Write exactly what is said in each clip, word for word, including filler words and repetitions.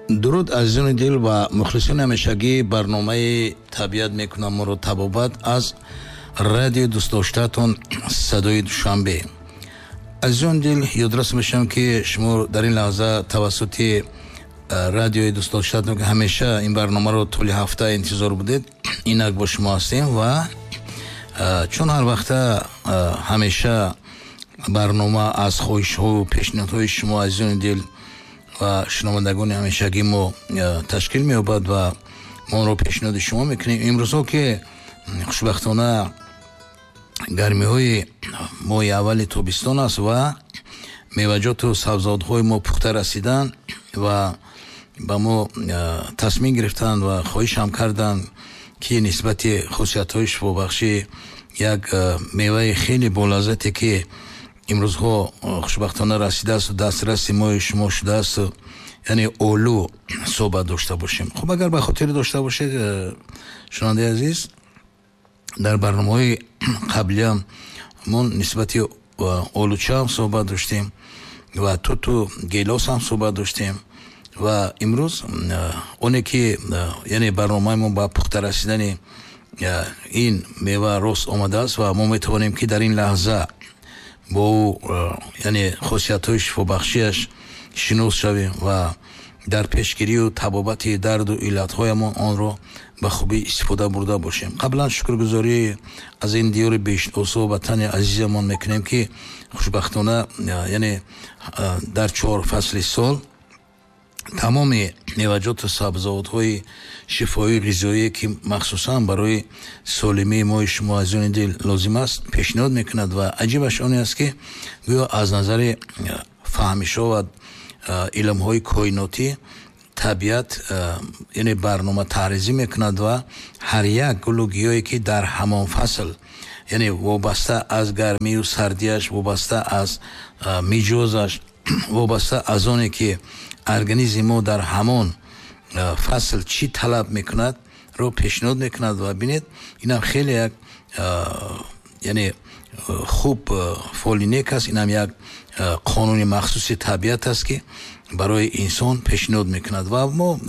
Дуруд, азизони дил ва мухлисони ҳамешагии барномаи «Табиат мекунам моро табобат» аз радиои дӯстдоштаатон «Садои Душанбе». Азизони дил, ёдрас мешавам, ки шумо дар ин лаҳза тавассути радиои дӯстдоштаатон, ки ҳамеша ин барномаро тӯли ҳафта интизор будед, инак бо шумо ҳастем. Ва чун ҳар вақта ҳамеша барнома аз хоҳишҳову пешниҳодҳои шумо, азизони дил ва шунавандагони ҳамешагии мо, ташкил меёбад ва мо онро пешниҳоди шумо мекунем, имрӯзҳо, ки хушбахтона гармиҳои моҳи аввали тобистон аст ва меваҷоту сабзавотҳои мо пухта расиданд ва ба мо тасмим гирифтанд ва хоҳишам карданд, ки нисбати хусусиятҳои шифобахши як меваи хеле болаззате, ки имрӯзҳо хушбахтона расидааст, дастраси мои шумо шудааст, яъне олу, суҳбат дошта бошем. Хуб, агар ба хотир дошта бошед, шунавандаи азиз, дар барномаҳои қаблиам мо нисбати олучаам суҳбат доштем ва туту гелос ҳам суҳбат доштем. Ва имрӯз оне ки, яъне, барномаи мо ба пухта расидани ин мева рост омадааст ва мо метавонем, ки дар ин лаҳза бо ӯ, яъне хосиятҳои шифобахшиаш, шинос шавем ва дар пешгирию табобати дарду иллатҳоямон онро ба хубӣ истифода бурда бошем. Қаблан шукргузорӣ аз ин диёри беҳиштосо, ватани азизамон мекунем, ки хушбахтона, яъне, дар чор фасли сол тамоми меваҷоту сабзавотҳои шифоии ғизоие, ки махсусан барои солимии мои шумо, азизони дил, лозим аст, пешниҳод мекунад. Ва аҷибаш оне аст, ки гӯё аз назари фаҳмишҳо ва илмҳои коинотӣ табиат, яъне, барнома таҳризӣ мекунад ва ҳар як гулу гиёҳе, ки дар ҳамон фасл, яъне вобаста аз гармию сардиаш, вобаста аз миҷозаш, вобаста аз оне ки организми мо дар ҳамон фасл чӣ талаб мекунад, ро пешниҳод мекунад. Ва бинед, инам хеле як, яъне, хуб фоли нек аст, инам як қонуни махсуси табиат аст, ки барои инсон пешниҳод мекунад. Ва мо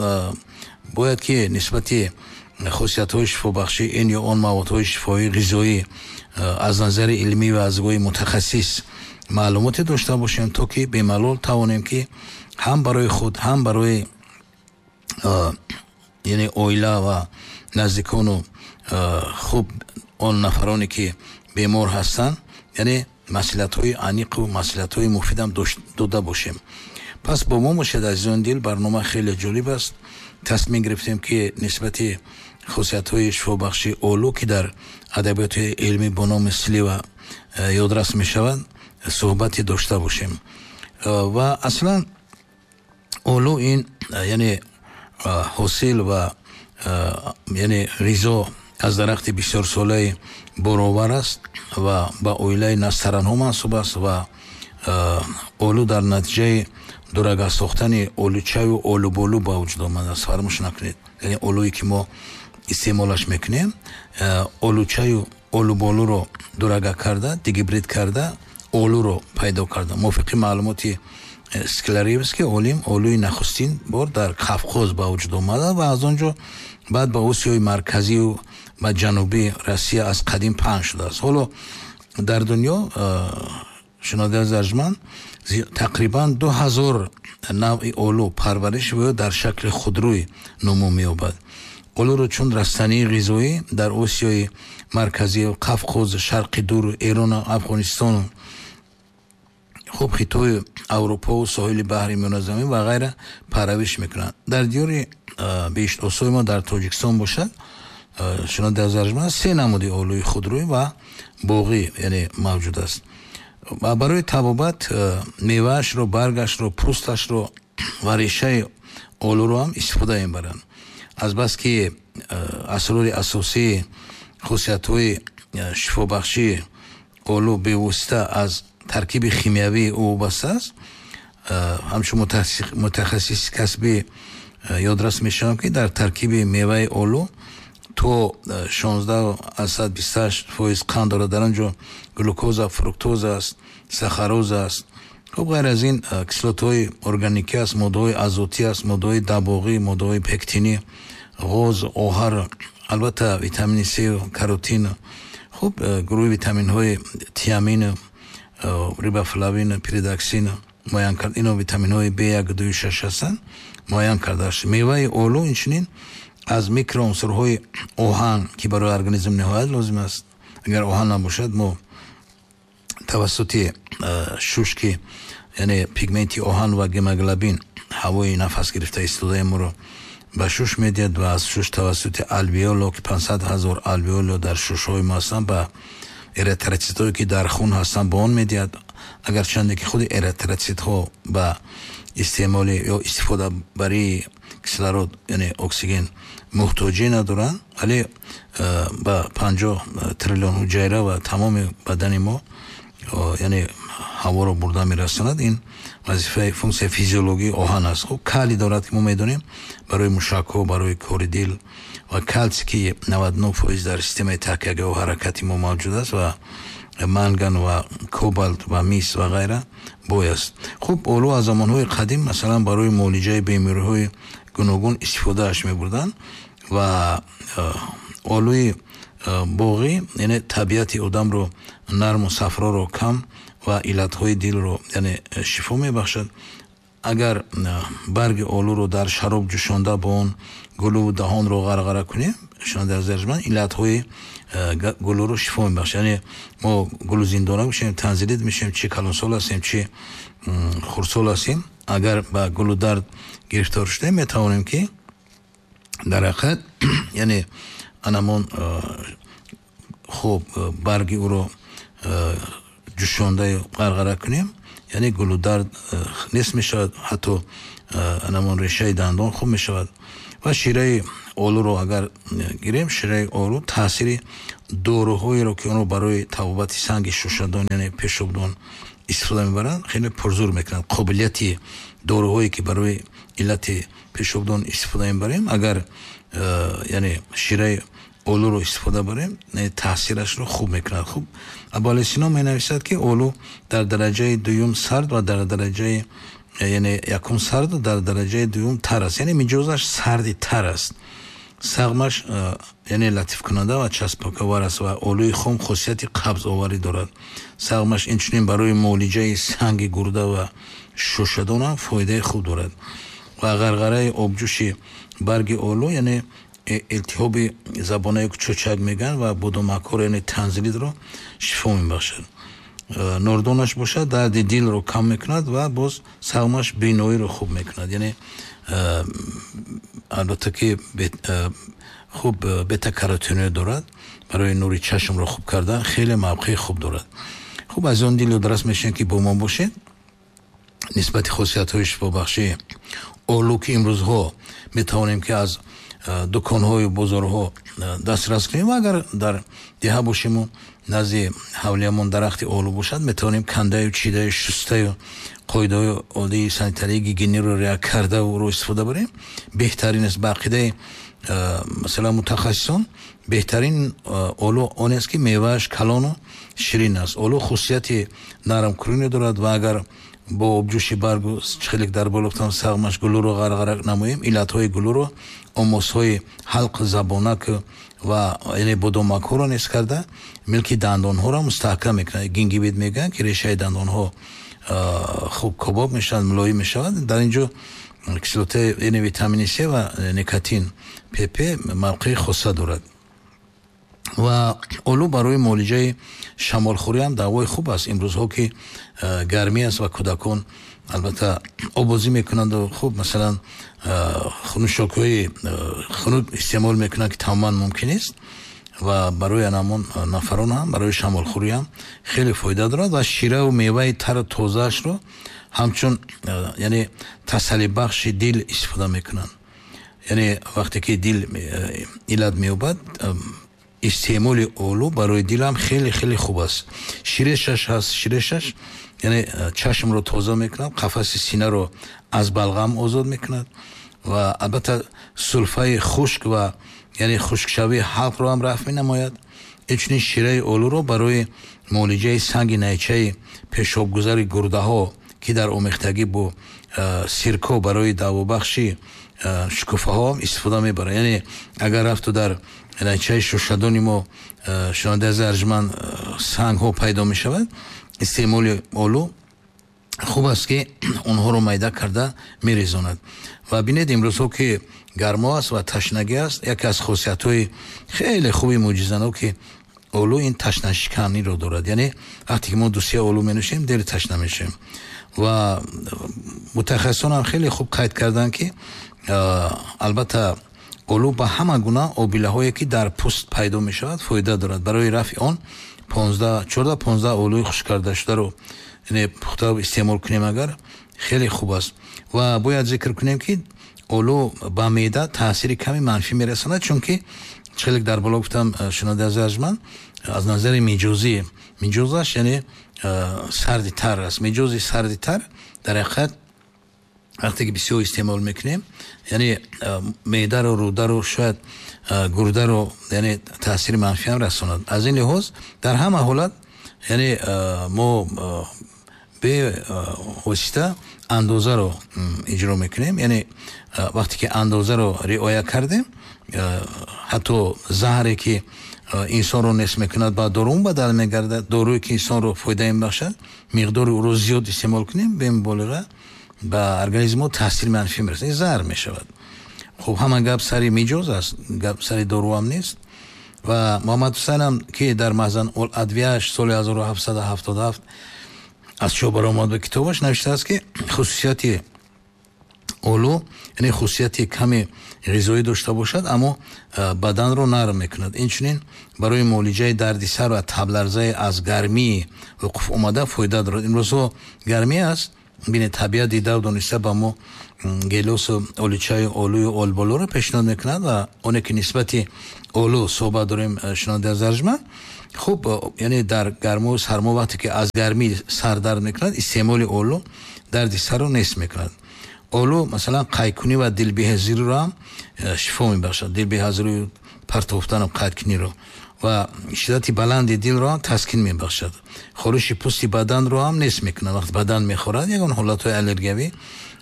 бояд ки нисбати хусусиятҳои шифобахши ин ё он маводҳои шифоии ғизоӣ аз назари илмӣ ва аз нигоҳи мутахассис маълумоте дошта бошем, то ки бемалол тавонем, ки ҳам барои худ, ҳам барои, яъне, оила ва наздикону хуб он нафароне, ки бемор ҳастанд, яъне маслиҳатҳои аниқу маслиҳатҳои муфидам дода бошем. Пас бо мо бошед, азизони дил, барнома хеле ҷолиб аст. Тасмим гирифтем, ки нисбати хусусиятҳои шифобахши олу, ки дар адабиёти илмӣ бо номи слива ёдрас мешавад, суҳбате дошта бошем. Ва аслан олу ин, яъне, ҳосил ва, яъне, ғизо аз дарахти бисёрсолаи боровар аст ва ба оилаи настаранҳо мансуб аст. Ва олу дар натиҷаи дурага сохтани олучаю олуболу ба вуҷуд омадааст. Фаромӯш накунед, яъне олуе, ки мо истеъмолаш мекунем, олучаю олуболуро дурага карда, дигибрид карда, олуро пайдо карда. Мувофиқи маълумоти Скляревский олим, олуи нахустин бор дар Қавқоз ба вуҷуд омада ва аз он ҷо баъд ба Осиёи Марказию ба ҷанубии Россия аз қадим паҳн шудааст. Ҳоло дар дунё, шунавандаи арҷманд, тақрибан ду ҳазор навъи олу парвариш ва ё дар шакли худрӯй нумӯ меёбад. Олуро чун растании ғизоӣ дар Осиёи Марказӣ, Қавқоз, Шарқи Дуру, Эрону Афғонистону, хуб, Хитою, Аврупову соҳили баҳри Миёназамин ва ғайра парвариш мекунанд. Дар диёри беҳиштосои мо, дар Тоҷикистон бошад, шунавандаи арҷманд, се намуди олуи худрӯй ва боғӣ, яъне, мавҷуд аст. Ва барои табобат меваашро, баргашро, пӯсташро ва решаи олуро ҳам истифода мебаранд. Азбаски асрори асосии хусусиятҳои шифобахшии олу бевосита аз таркиби химиявии ӯ вобаста аст, ҳамчун мутахассиси касбӣ ёдрас мешавам, ки дар таркиби меваи олу то шонздаҳ аз сад бисту ҳашт фоиз қанд дорад. Дар он ҷо глюкоза, фруктоза аст, сахароза аст. Хуб, ғайр аз ин кислотаҳои органикӣ аст, моддаҳои азотӣ аст, моддаҳои дабоғӣ, моддаҳои пектинӣ, ғоз, оҳар, албатта витамини С, каротин, хуб, гурӯҳи витаминҳои тиамин, рибофлавин, пиридоксин муайян кард. Ино витаминҳои Б як, ду, шаш ҳастанд, муайян кардааст. Меваи олу инчунин аз микроунсурҳои оҳан, ки барои организм ниҳоят лозим аст. Агар оҳан набошад, мо тавассути шуш, ки яъне пигменти оҳан ва гемоглобин ҳавои нафас гирифта истодаи моро ба шуш медиҳад ва аз шуш тавассути алвеоло, ки панҷсад ҳазор алвеоло дар шушҳои мо ҳастанд, ба эритроцитҳое, ки дар хун ҳастанд, ба он медиҳад. Агарчанде ки худи эритроцитҳо ба истеъмоли ё истифодабарии кислород, яъне оксиген, муҳтоҷӣ надоранд, вале ба панҷоҳ триллион ҳуҷайра ва тамоми бадани мо, яъне ҳаворо бурда мерасонад. Ин вазифаи функсияи физиологии оҳан аст. Хуб, калий дорад, ки мо медонем барои мушакҳо, барои кори дил, ва калсий, ки навад нӯҳ фоиз дар системаи такягоҳу ҳаракати мо мавҷуд аст, ва манган ва кобалт ва мис ва ғайра бой аст. Хуб, олу аз замонҳои қадим, масалан, барои муолиҷаи бемориҳои гуногун истифодааш мебурданд ва олуи боғӣ, яъне табиати одамро нарму сафроро кам ва иллатҳои дилро, яъне, шифо мебахшад. Агар барги олуро дар шароб ҷӯшонда бо он гулӯву даҳонро ғарғара кунем, шунавандаи азиз арҷманд, иллатҳои гулӯро шифо мебахшад. Яъне мо гулӯзиндона мешавем, танзилит мешавем, чи калонсол ҳастем, чи хурдсол ҳастем, агар ба гулӯдард гирифтор шудем, метавонем, ки дар ҳақиқат, яъне, анамон, хуб, барги ӯро ҷӯшондаю ғарғара кунем, яъне гулӯдард нест мешавад, ҳатто анамон решаи дандон хуб мешавад. Ва шираи олуро агар гирем, шираи олу таъсири доруҳоеро, ки онро барои табобати санги шушадон, яъне пешобдон истифода мебаранд, хеле пурзур мекунад. Қобилияти доруҳое, ки барои иллати пешобдон истифода мебарем, агар, яъне, шираи олуро истифода барем, таъсирашро хуб мекунад. Хуб, Абуалӣ Сино менависад, ки олу дар дараҷаи дуюм сард ва дар дараҷаи, яъне, якум сард, дар дараҷаи дуюм тар аст, яъне миҷозаш сарди тар аст. Сағмаш, яъне, латифкунанда ва часпаковар аст ва олуи хом хосияти қабзоварӣ дорад. Сағмаш инчунин барои муолиҷаи санги гурда ва шушадон ҳам фоидаи хуб дорад. Ва ғарғараи обҷӯши барги олу, яъне, илтиҳоби забонаи чӯчак мегӯянд ва бодомакҳоро, яъне танзилитро шифо мебахшад. Нордонаш бошад, дарди дилро кам мекунад ва боз сағмаш биноиро хуб мекунад. Яъне, албатта, ки хуб бета-каротиноид дорад, барои нури чашмро хуб кардан хеле мавқеи хуб дорад. Хуб, аз он дил ёдрас мешавем, ки бо мо бошед нисбати хосиятҳои шифобахшии олу, ки имрӯзҳо метавонем, ки аз дуконҳою бозорҳо дастрас кунем, ва агар дар деҳа бошему назди ҳавлиямон дарахти олу бошад, метавонем кандаю, чидаю, шустаю, қоидаҳои оддии санитарии гигиениро риоя карда ӯро истифода барем, беҳтарин аст. Ба ақидаи, масалан, мутахассисон, беҳтарин олу он аст, ки мевааш калону ширин аст. Олу хусусияти нармкуниро дорад ва агар бо обҷӯши баргу, хеле дар боло гуфтам, сағмаш гулӯро ғарғара намоем, иллатҳои гулӯро, омосҳои ҳалқ, забонак ва, яъне, бодомакҳоро нест карда, милки дандонҳоро мустаҳкам мекунад. Гингивит мегӯянд, ки решаи дандонҳо хуб кобоб мешавад, мулоим мешавад. Дар ин ҷо кислотаи, яъне, витамини С ва никотин П П мавқеи хоса дорад. Ва олу барои муолиҷаи шамолхӯрӣ ҳам давои хуб аст. Имрӯзҳо, ки гармӣ аст ва кӯдакон, албатта, обозӣ мекунанду, хуб, масалан, нӯшокиҳои хунук истеъмол мекунанд, ки тамоман мумкин нест, ва барои анамон нафарон ҳам, барои шамолхӯрӣ ҳам хеле фоида дорад. Ва шираву меваи тару тозаашро ҳамчун, яъне, тасаллибахши дил истифода мекунанд. Яъне вақте ки дил иллат меёбад, истеъмоли олу барои дилам хеле хеле хуб аст. Ширешаш ҳаст, ширешаш, яъне, чашмро тоза мекунад, қафаси синаро аз балғам озод мекунад ва, албатта, сулфаи хушк ва, яъне, хушкшавии ҳалқро ҳам рафъ менамояд. Инчунин шираи олуро барои муолиҷаи санги найчаи пешобгузари гурдаҳо, ки дар омехтагӣ бо сирко барои давобахши шукуфаҳо истифода мебарад. Яъне агар рафту дар найчаи шушадони мо, шунавандаи азиз арҷманд, сангҳо пайдо мешавад, истеъмоли олу хуб аст, ки онҳоро майда карда мерезонад. Ва бинед, имрӯзҳо ки гармо аст ва ташнагӣ аст, яке аз хосиятҳои хеле хуби мӯъҷизаноки олу ин ташнашиканиро дорад. Яъне вақте ки мо ду се олу менӯшем, дер ташна мешавем. Ва мутахассисон ҳам хеле хуб қайд карданд, ки албатта олу ба ҳама гуна обилаҳое, ки дар пӯст пайдо мешавад, фоида дорад. Барои рафъи он чордаҳ понздаҳ олуи хушк карда шударо, яъне пухта истеъмол кунем, агар хеле хуб аст. Ва бояд зикр кунем, ки олу ба меъда таъсири ками манфӣ мерасонад, чунки хеле дар боло гуфтам, шунавандаи азиз арҷманд, аз назари миҷозӣ, миҷозаш яъне сарди тар аст. Миҷози сарди тар дар ҳақиқат вақте ки бисёр истеъмол мекунем, яъне меъдаро, рӯдаро, шояд гурдаро, яъне таъсири манфӣ ҳам расонад. Аз ин лиҳоз дар ҳама ҳолат, яъне мо бевосита андозаро иҷро мекунем. Яъне вақте ки андозаро риоя кардем, ҳатто заҳре ки инсонро нест мекунад, ба дору бадал мегардад. Доруе ки инсонро фоида мебахшад, миқдори ӯро зиёд истеъмол кунем, бемуболиға ба организми мо таъсири манфӣ мерасонад, заҳр мешавад. Хуб, ҳама гап сари миҷоз аст, гап сари доруам нест. Ва Муҳаммад Ҳусайнам, ки дар Маҳзан ул адвияш соли ҳазору ҳафтсаду ҳафтоду ҳафт аз чоп баромад, ба китобаш навиштааст, ки хусусияти олу, яъне хусусияти ками ғизоӣ дошта бошад, аммо баданро нарм мекунад. Инчунин барои муолиҷаи дарди сар ва табларзаи аз гармии вуқуф омада фоида дорад. Имрӯзҳо гармӣ аст, бинед, табиат дидаву дониста ба мо гелосу олучаи олую олболоро пешниҳод мекунад. Ва оне ки нисбати олу суҳбат дорем, шунавандаи азиз арҷманд, хуб, яъне дар гарму сармо вақте ки аз гармӣ сар дард мекунад, истеъмоли олу дарди сарро нест мекунад. Олу масалан қайкунӣ ва дилбеҳазириро ҳам шифо мебахшад, дилбеҳазирию партофтану қайдкуниро ва шиддати баланди дилро ҳам таскин мебахшад. Хориши пӯсти баданро ҳам нест мекунад. Вақт бадан мехорад, ягон ҳолатҳои аллергиявӣ,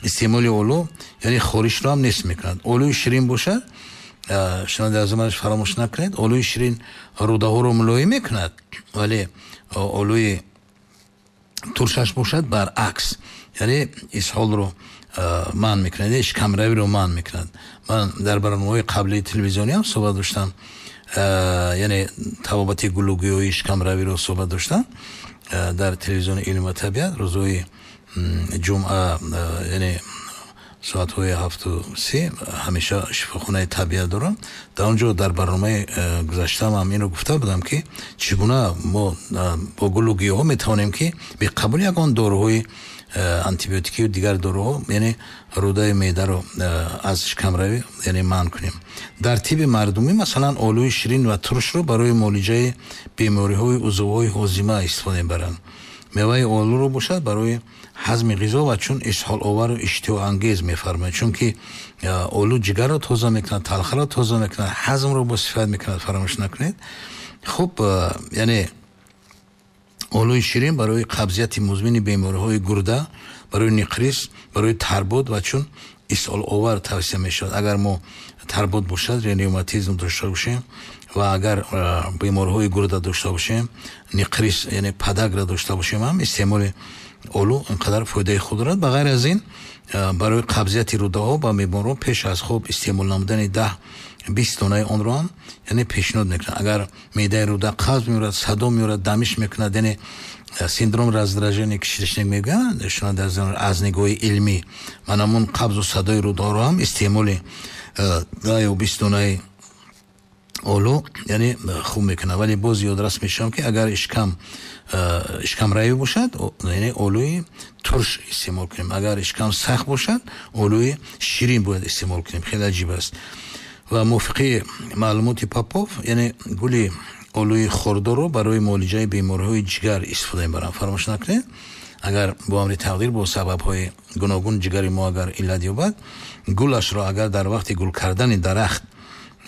истеъмоли олу яъне хоришро ҳам нест мекунад. Олуи ширин бошад, шунавандаи азиз, фаромӯш накунед, олуи ширин рӯдаҳоро мулоим мекунад, вале олуи туршаш бошад, баръакс, яъне исҳолро манъ мекунад, яъне шикамравиро манъ мекунад. Ман дар барномаҳои қаблии телевизионӣ ҳам суҳбат доштам, яъне табобати гулугӯёии шикамравиро суҳбат доштам дар телевизиони илм ва табиат рӯзҳои ҷумъа, яъне соатҳои ҳафту се ҳамеша шифохонаи табиат дорам. Дар он ҷо дар барномаи гузаштаам ҳам инро гуфта будам, ки чӣ гуна мо бо гулу гиёҳҳо метавонем, ки беқабули ягон доруҳои антибиотикию дигар доруҳо, яъне рӯдаи меъдаро аз шикамравӣ, яъне манъ кунем. Дар тибби мардумӣ масалан олӯи ширин ва туршро барои муолиҷаи бемориҳои узвҳои ҳозима истифода мебаранд. Меваи олуро бошад барои ҳазми ғизо ва чун исҳоловару иштиҳоангез мефармояд, чунки олу ҷигарро тоза мекунад, талхаро тоза мекунад, ҳазмро босифат мекунад, фаромӯш накунед. Хуб, яъне олӯи ширин барои қабзияти музмини бемориҳои гурда, барои ниқрис, барои тарбуд ва чун исҳоловар тавсия мешавад. Агар мо тарбуд бошад, ревматизм дошта бошем ва агар бемориҳои гурда дошта бошем, ниқрис, яъне подагра дошта бошем, ҳам истеъмоли олу инқадар фоидаи худ дорад. Ба ғайр аз ин барои қабзияти рӯдаҳо ба беморон пеш аз хоб истеъмол намудани даҳ бист донаи онро ҳам, яъне пешниҳод мекунад. Агар меъдаи рӯда қабз меорад, садо меорад, дамиш мекунад, яъне синдром раздражения кишечник мегӯянд, шунаванда, аз нигоҳи илмӣ, ман ҳамун қабзу садои рӯдаҳоро ҳам истеъмоли даҳ ё бист донаи олу, яъне хуб мекунад. Вале боз ёдрас мешавам, ки агар ишкам ишкамравӣ бошад, яъне олӯи турш истеъмол кунем, агар ишкам сахт бошад, олӯи ширин бояд истеъмол кунем. Хеле аҷиб аст. Ва мувофиқи маълумоти Попов, яъне гули олӯи хурдоро барои муолиҷаи бемориҳои ҷигар истифода мебаранд. Фаромӯш накунед, агар бо амри тақдир бо сабабҳои гуногун ҷигари мо агар иллат ёбад, гулашро агар дар вақти гул кардани дарахт,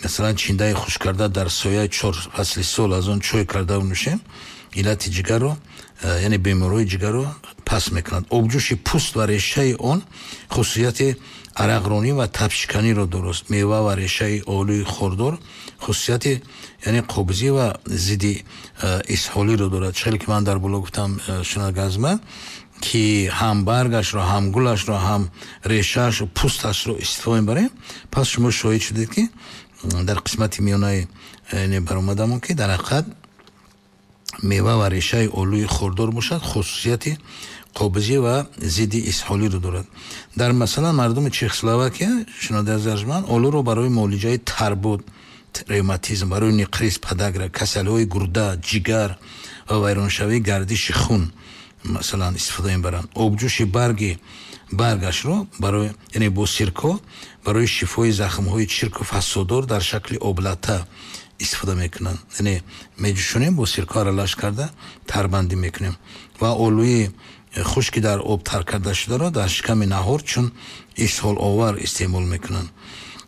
масалан чиндаи хушк карда дар сояи чор фасли сол аз он чой карда нӯшем, иллати ҷигарро яъне бемориҳои ҷигарро пас мекунад. Обҷӯши пӯст ва решаи он хусусияти арақронӣ ва табшиканиро дорост. Мева ва решаи олӯи хордор хусусияти яъне қобзӣ ва зидди исҳолиро дорад. Чӣ ки ман дар боло гуфтам, шунавандагон, ки ҳам баргашро, ҳам гулашро, ҳам решааш, пӯсташро истифода мебарем. Пас шумо шоҳид шудед, ки дар қисмати миёнаи баромадамон, ки дар ҳақиқат мева ва решаи олӯи хордор бошад, хусусияти қобзӣ ва зидди исҳолиро дорад. Дар масалан мардуми Чехословакия, шунавандаи арҷманд, олӯро барои муолиҷаи тарбуд, ревматизм, барои нақрис, подагра, касалиҳои гурда, ҷигар ва вайроншавии гардиши хун масалан истифода мебаранд. Обҷӯши барги баргашро барои, яъне бо сирко, барои шифои захмҳои чирку фасоддор дар шакли облата истифода мекунанд. Яъне меҷӯшонем, бо сирко аралаш карда тарбандӣ мекунем ва олӯи хушки дар об тар карда шударо дар шиками наҳор чун исҳоловар истеъмол мекунанд.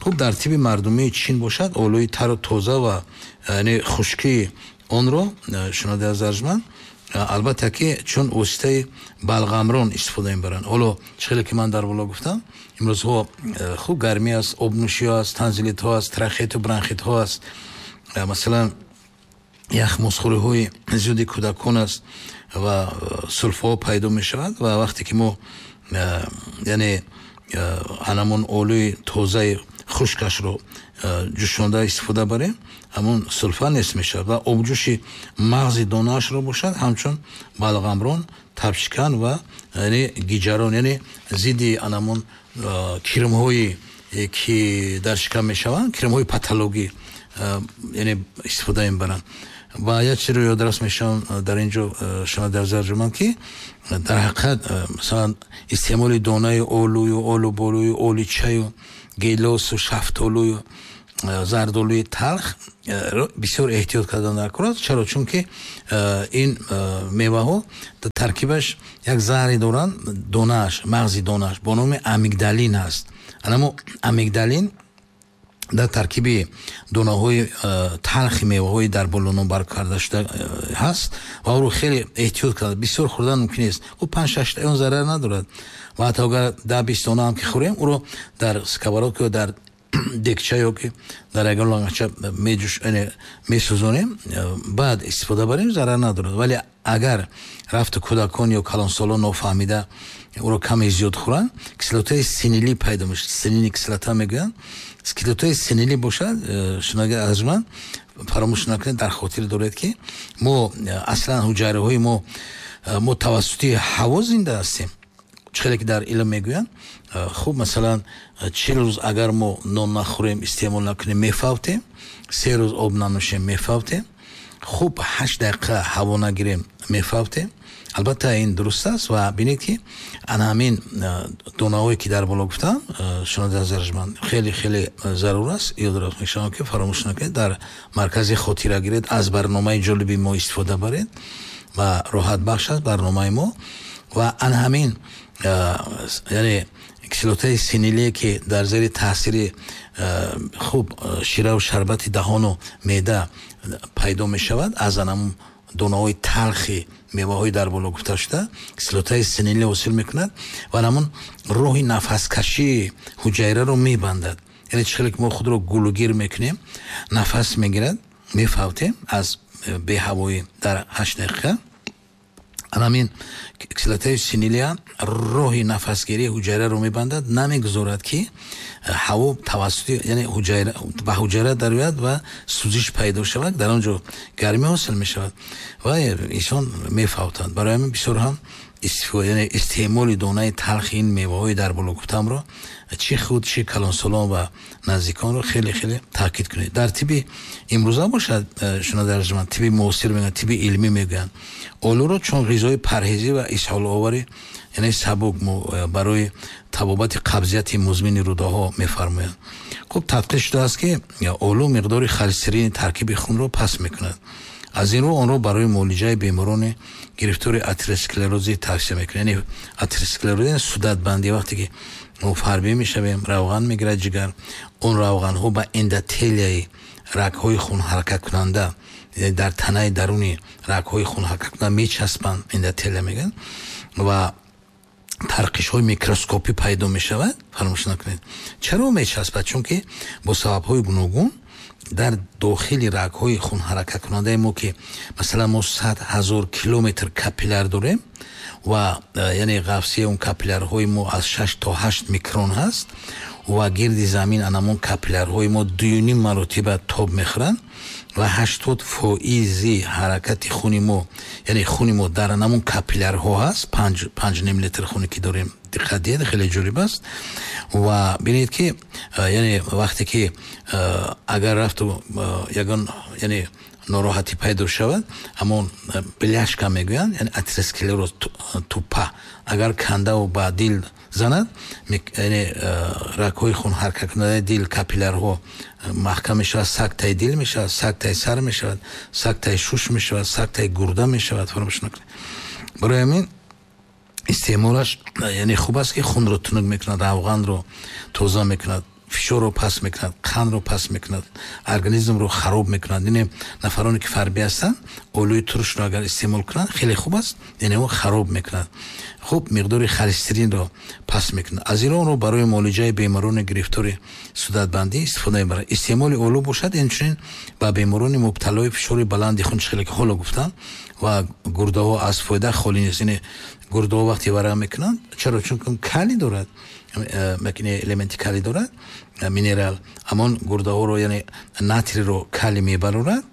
Хуб, дар тибби мардумии Чин бошад, олӯи тару тоза ва яъне хушкии онро, шунавандаи арҷманд, албатта ки чун воситаи балғамрон истифода мебаранд. Ҳоло чӣ ки ман дар боло гуфтам, имрӯзҳо хуб гармӣ аст, обнӯшиҳо аст, танзилитҳо аст, трахеиту бронхитҳо аст, масалан яхмозхӯриҳои зиёди кӯдакон аст ва сулфаҳо пайдо мешавад. Ва вақте ки мо яъне ҳанамон олӯи тозаи хушкашро ҷӯшонда истифода барем, ҳамон сулфа нест мешавад. Ва обҷӯши мағзи донаашро бошад, ҳамчун балғамрон, табшикан ва яъне гиҷарон, яъне зидди анамон кирмҳое ки дар шикам мешаванд, кирмҳои патологӣ, яъне истифода мебаранд. Ва як чизро ёдрас мешавам дар ин ҷо, шунавандаи арҷманд, ки дар ҳақиқат масалан истеъмоли донаи олӯю олуболӯю оличаю гелосу шафтолӯю зардолӯи талх бисёр эҳтиёт кардан дар кор аст. Чаро? Чунки ин меваҳо дар таркибаш як заҳре доранд, донааш, мағзи донааш бо номи амигдалин аст. Анамо амигдалин дар таркиби донаҳои талхи меваҳои дар боло номбар карда шуда ҳаст ва ӯро хеле эҳтиёт карда, бисёр хӯрдан мумкин нест. Ӯ панҷ шашта он зарар надорад ва ҳатто агар даҳ бист дона ҳам ки хӯрем, ӯро дар сковородка ё дар декча ё ки дар ягон лонгача меҷӯш, месӯзонем, баъд истифода барем, зарар надорад. Вале агар рафту кӯдакон ё калонсолон нофаҳмида ӯро каме зиёд хӯранд, кислотаи синилӣ пайдо мешавад, синильная кислота мегӯянд. Кислотаи синилӣ бошад, шунавандаи арҷманд, фаромӯш накунед, дар хотир доред, ки мо аслан ҳуҷайраҳои мо мо тавассути ҳаво зинда ҳастем. Чӣ хеле ки дар илм мегӯянд, хуб, масалан чил рӯз агар мо нон нахӯрем, истеъмол накунем, мефавтем, се рӯз об нанӯшем, мефавтем, хуб ҳашт дақиқа ҳаво нагирем, мефавтем. Албатта ин дуруст аст. Ва бинед, ки ана ҳамин донаҳое ки дар боло гуфтам, шунавандаи арҷманд, хеле хеле зарур аст. Ёдрас мешавам, ки фаромӯш накунед, дар маркази хотира гиред, аз барномаи ҷолиби мо истифода баред ва роҳатбахш аст барномаи мо. Ва ана ҳамин яъне кислотаи синилие, ки дар зери таъсири хуб шираву шарбати даҳону меъда пайдо мешавад, аз анам донаҳои талхи меваҳои дар боло гуфта шуда кислотаи синилӣ ҳосил мекунад ва ҳамон роҳи нафаскашии ҳуҷайраро мебандад. Яъне чӣ хеле ки мо худро гулугир мекунем, нафас мегирад, мефавтем аз беҳавоӣ дар ҳашт дақиқа, ҳамин кислотаи синилия роҳи нафасгирии ҳуҷайраро мебандад, намегузорад, ки ҳаво тавассути яъне ҳуҷайра ба ҳуҷайра дарояд ва сӯзиш пайдо шавад, дар он ҷо гармӣ ҳосил мешавад ва инсон мефавтад. Барои ҳамин бисёр ҳам яъне истеъмоли донаи талхи ин меваҳои дар боло гуфтамро чӣ худ, чӣ калонсолон ва наздиконро хеле хеле таъкид кунед. Дар тибби имрӯза бошад, шунавандаи арҷманд, тибби муосир мегӯянд, тибби илмӣ мегӯянд, олӯро чун ғизои парҳезӣ ва исҳоловари яъне сабук барои табобати қабзияти музмини рӯдаҳо мефармоянд. Хуб, тадқиқ шудааст, ки олӯ миқдори холестерини таркиби хунро паст мекунад. Аз ин рӯ онро барои муолиҷаи беморони гирифтори атеросклерозӣ тавсия мекунад. Яъне атеросклероз, судатбандӣ, вақте ки мо фарбӣ мешавем, равған мегирад ҷигар, он равғанҳо ба эндотелияи рагҳои хунҳаракаткунанда, дар танаи даруни рагҳои хунҳаракаткунанда мечаспанд, эндотелия мегӯянд, ва тарқишҳои микроскопӣ пайдо мешавад. Фаромӯш накунед, чаро мечаспад? Чунки бо сабабҳои гуногун дар дохили рагҳои хунҳаракаткунандаи мо, ки масалан мо сад ҳазор километр капилляр дорем ва яъне ғафсии он капиллярҳои мо аз шаш то ҳашт микрон ҳаст ва гирди замин анамон капиллярҳои мо дуюним маротиба тоб мехӯранд ва ҳаштод фоизи ҳаракати хуни мо, яъне хуни мо дар анамон капиллярҳо ҳаст, панҷ ним литр хуне ки дорем. Диққат диҳед, хеле ҷолиб аст. Ва бинед, ки яъне вақте ки агар рафту ягон яъне нороҳатӣ пайдо шавад, ҳамон бляшка мегӯянд, яъне атеросклероз, тупа агар кандаву ба дил занад, яъне рагҳои хунҳаракаткунандаи дил, капиллярҳо маҳкам мешавад, сактаи дил мешавад, сактаи сар мешавад, сактаи шуш мешавад, сактаи гурда мешавад. Фаромӯш накунед. Барои ҳамин истеъмолаш яъне хуб аст, ки хунро тунук мекунад, равғанро тоза мекунад, фишорро паст мекунад, қандро паст мекунад, организмро хароб мекунад. Яъне нафароне ки фарбӣ ҳастанд, олӯи турушро агар истеъмол кунанд, хеле хуб аст, яъне он хароб мекунад, хуб миқдори холестеринро паст мекунад. Аз ин онро барои муолиҷаи беморони гирифтори судатбандӣ истифода мебарад. Истеъмоли олӯ бошад, инчунин ба беморони мубталои фишори баланди хун, хеле ки ҳоло гуфтам, ва гурдаҳо аз фоида холӣ нест. Яъне гурдаҳо вақте варам мекунанд, чаро? Чун калий дорад, элементи калий дорад, минерал. Ҳамон гурдаҳоро, яъне натрийро калий мебарорад,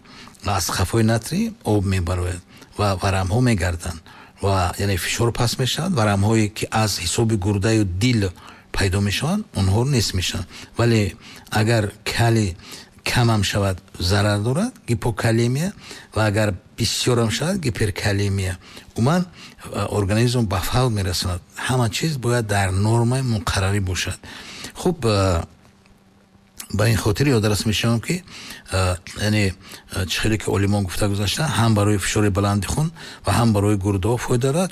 аз қафои натрий об мебарояд ва варамҳо мегарданд ва яъне фишор паст мешавад. Варамҳое ки аз ҳисоби гурдаю дил пайдо мешаванд, онҳо нест мешаванд. Вале агар калий камам шавад, зарар дорад, гипокалемия, ва агар бисёрам шавад, гиперкалемия, умуман организм ба фавт мерасонад. Ҳама чиз бояд дар нормаи муқаррарӣ бошад. Хуб, ба ин хотир ёдрас мешавам, ки яъне чӣ хеле ки олимон гуфта гузаштанд, ҳам барои фишори баланди хун ва ҳам барои гурдаҳо фоида дорад.